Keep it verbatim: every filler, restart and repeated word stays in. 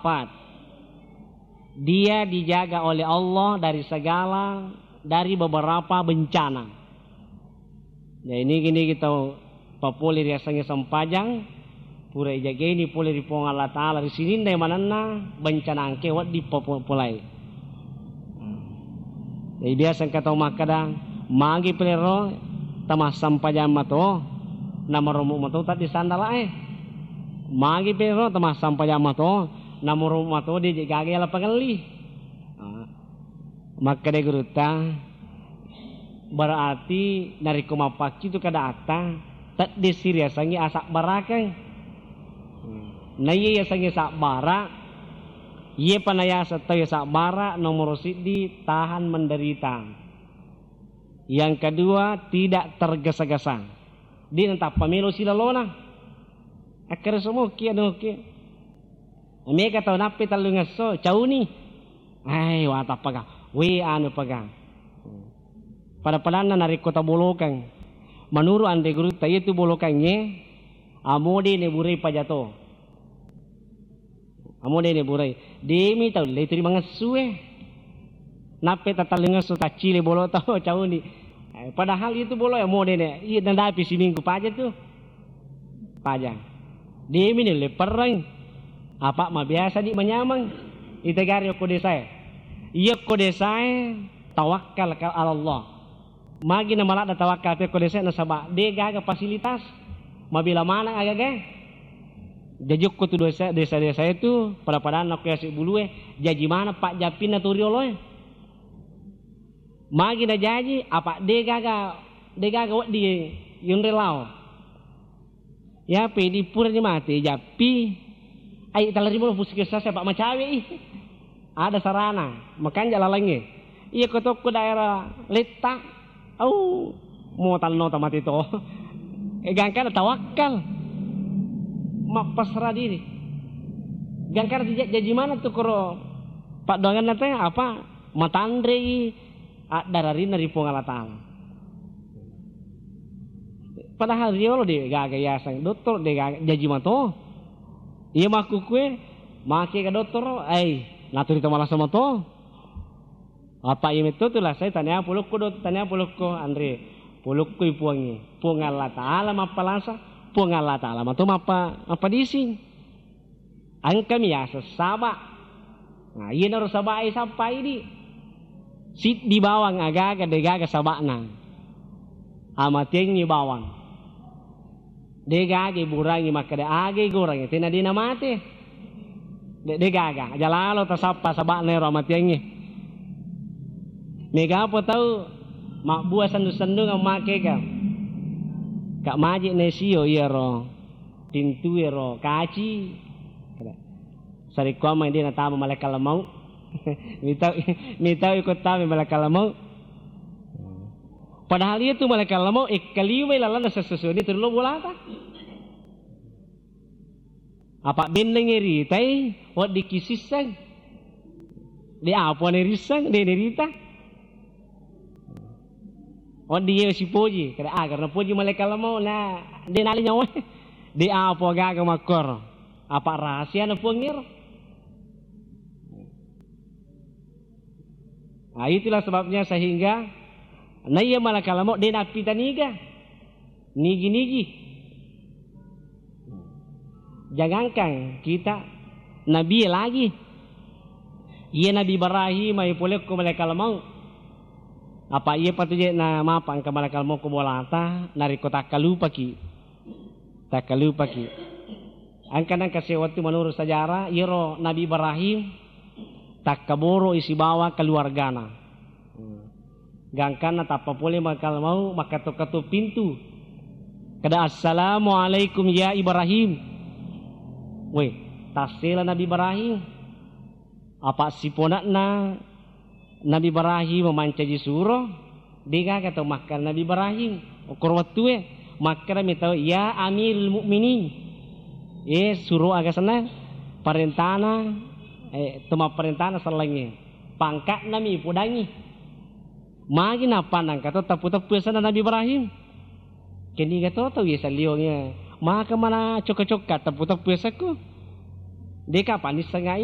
Empat, dia dijaga oleh Allah dari segala, dari beberapa bencana. Jadi, nigi-nigi tau papole riasengnge sempajang, pura ijagaini pole ri Puang Allah Ta'ala, ri sininna manenna bencana engkae wedding papo-, polai. Jadi, biasa engka tau makkeda, magi pelero tamassempajang mato, namarommu mato taddi sandalae. Magi pelero tamassempajang mato, namarommu mato de je gaga yala pangelli. Ah. Makkeda gurutta, berarti narekko mappaccitu keadaatta, teddessi riasengnge asabbarakeng. Naiya yasengnge sabbara, iyepa nayaseng tau sabbara, nomoro siddi, tahan menderita. Yang kedua, tidak tergesa-gesa. De natappa melo silalona. Akkere somoki, anu ki. Mega tau nappi tellungesso, cauni. Ai, watappaga. We, anu paga. Pada-padanna narekko tabolokang. Menurut anre gurutta, iyatu bolokangnge, amo de neburai pajato. Amo de neburai. Demi tau le turi mangessue. Nappi tatellungesso taccile bolo tau, cauni. Eh, padahal itu bolo ya amo de ne. Iya, nadapi siminggu paja tu. Paja. Demi nulle perreng. Apa mabiasa di manyameng. Itegari okko desae. Iya okko desae tawakkal ka Allah. Magi na maladda tawakkal pe okko desae nasaba de gaga fasilitas. Mabela maneng agagae. Jaji okko tu desa, desa-desa itu pada-padanna okko yase bulue, jaji maneng pajjappinna tu rioloe. Magi najaji, apa de gaga, de gaga wedding yonre lao. Yape di purani mate jappi, ai talarimo puskesmas apa macawe i. Ada sarana, makanja lalengnge. Iya ko tokko daerah Letta, au, mo tanno tamate to. Eh, gangkana tawakkal. Mappasrah diri. Gangkana tija-, jaji mana tu koro paddoanganna te apa matanrei addararinna ri Puang Allah Ta'ala. Padahal riolo de gaga yaseng dokter, de gaga jaji mato. Iya makkukue, make ga dokter, ai, naturi to malasa mato. Apa iya metto tu lasai tania polokko dokter, tania polokko anre. Polokkoi puangnge. Puang Allah Ta'ala mappalasa, Puang Allah Ta'ala mato mappa-, mappadising. Engkami yaseng saba. Nah, iyanaro sabae sappa idi. Siddi bawang agaga degaga saba'na. Amatengngi bawang. Degaga iburangi makkeda aga igorangi tena de namate. De, degaga. Aja lalo tasappa saba'na ero amatengngi. Mega apa tau mabbua sendu-sendung makega. Kak Maji nesio iyaro. Pintu ero kaci. Sarekkuamang de natama malaikat maut. Mitau, mitau iko tama malaikat maut. Padahal iya tu malaikat maut ekkalimai lalanna sessusuanni turu lo bolata. Apa bennengngi ritai, weddikki sisseng. De apa nerisseng, de nerita. Wedding iye sipoji, kada, ah, karena poji malaikat maut na de nale nyawa. De apa gaga makkoro. Apa rahasiana Puang ero. Nah, itulah sebabnya sehingga naiya malaikat maut de nappitaniga. Nigi-nigi. Jangankan kita, nabi lagi. Iya Nabi Ibrahim, ai polekko malaikat maut. Apa iya patu je na mapa engka malaikat maut ko bolata, narekko takkalupaki. Takkalupaki. Engka nengka sewettu menurut sejarah, iyaro Nabi Ibrahim takkaboro isi bawang keluargana. Hmm. Gangkanna tappa pole malaikat maut, makkato-kato pintu. Kada, "Assalamualaikum ya Ibrahim." Weh, tassela Nabi Ibrahim. Apa siponakna Nabi Ibrahim mancaji suro, degaga tau makkeda Nabi Ibrahim. Okkoro wettue, makkeda mi tau, "Ya Amirul Mukminin." Eh, suro aga senna? Parentana, eh, to mapparentana sellengnge. Pangka'na mi ipodangi. Magi nappa nangka to teppu-teppu yasenna Nabi Ibrahim. Keniga to tau yaseng liongnge. Maka mana cokka-cokka teppu-teppu yasekku. Deka panissengai